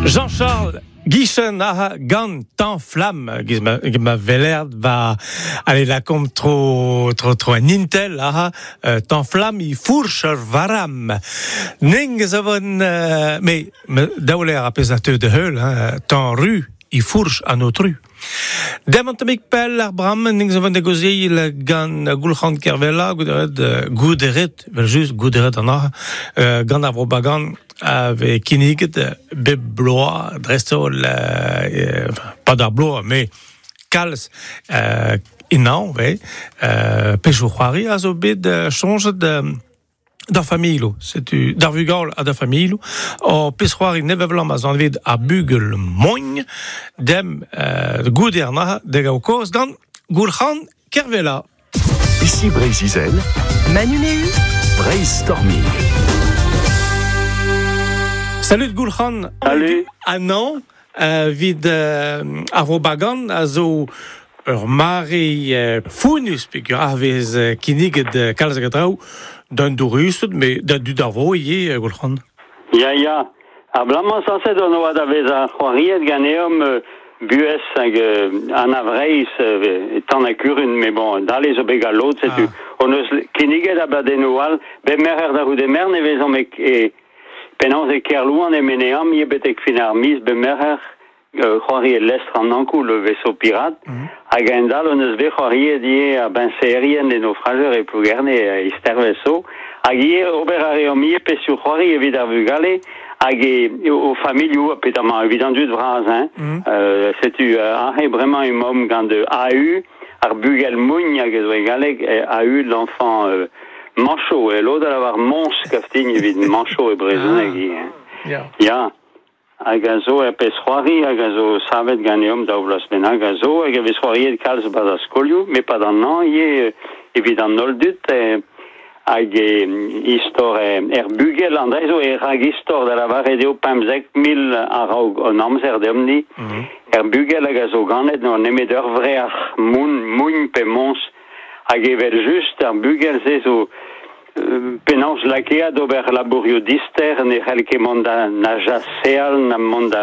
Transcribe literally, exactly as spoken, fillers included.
Jean-Charles Guichen aha gant tan flamm giz ma, ma velerd va allez la kom tro tro tro an intel aha euh, tan flamm i fourch ar varam ning zo von euh, me, me daouler a pez a teu de heul hein, tan ru i fourch an otru. Dem an tamik pell ar bram ning zo von de gozeil gant Goulc'han Kervella gouderet gouderet vel just gouderet an aha euh, gant ar vrobagan ave kinniget bep bloa dreist-holl euh, enfin, pas d'ar bloa mais kalz euh, inañ ve euh, pechou c'hoari a zo bet euh, chonjet euh, d'ar familho, setu d'ar vugal ha da familho, o pez c'hoari nevevlam a zan vet ar bugel mogn, dem euh, goude ar naha de gao koz gant Goulc'han Kervella. Ici Breizh-Izel, Manu Méhu, Brainstorming. Salut Goulc'han. Salut. Ah non, euh, vid euh, ar robagan a zo ur mare euh, founus peogwir ar vez euh, kinniget euh, kalz hag a draoù d'un dourusted, mais da dud ar vro ivez, euh, Goulc'han. Ya, ya. Ar blamañ sañset on oa da vezañ c'hoariet ganeomp euh, buhez hag euh, an avreiz euh, tan ha kurun, mais bon, dale zo bet galot, setu. Ah. On eus kinniget abadennoù all, bet merc'her da c'houde mern e vezomp e, e penaos e Kerlouan e meneam, ivez betek fin ar miz, bet merc'her euh, c'hoari e lestr an Ankou, le vaisseau pirate, Mm. hag en dal on eus bet c'hoariet ivez a benserien e naufrageur e Plougerne e istervez zo, hag ivez ober a reomp ivez pesioù c'hoari evit ar vugale, hag e, o familhoù, ha petamant evit an dud vras, hein. Mm. Euh, setu euh, aze bremañ emaomp gant A U, ar bugel mougn hag ez oe galleg, e A U l'enfant euh, manchot, e lod a lavar mons kaftign evit manchot e brezhoneg Ah. ivez, hein. Ya. Ya, hag a zo er pez c'hoari, hag a zo savet ganeomp daou vloaz bennak a zo, hag a vez c'hoariet kalz bas ar skolioù, met pas d'an an ivez, euh, evit an holl dud, eh, hag e istor eh, er bugel an dre zo e rag istor da lavaret eo pemzek mil a-raok an amzer deomp-ni. Mm. Er bugel hag a zo ganet n'oa nemet ur vreac'h moun, mougn pe mons, hag evel just ar bugel se zo euh, penaos lakeat ober labourioù dister, ne c'hell ket mont da na jaseal, na mont da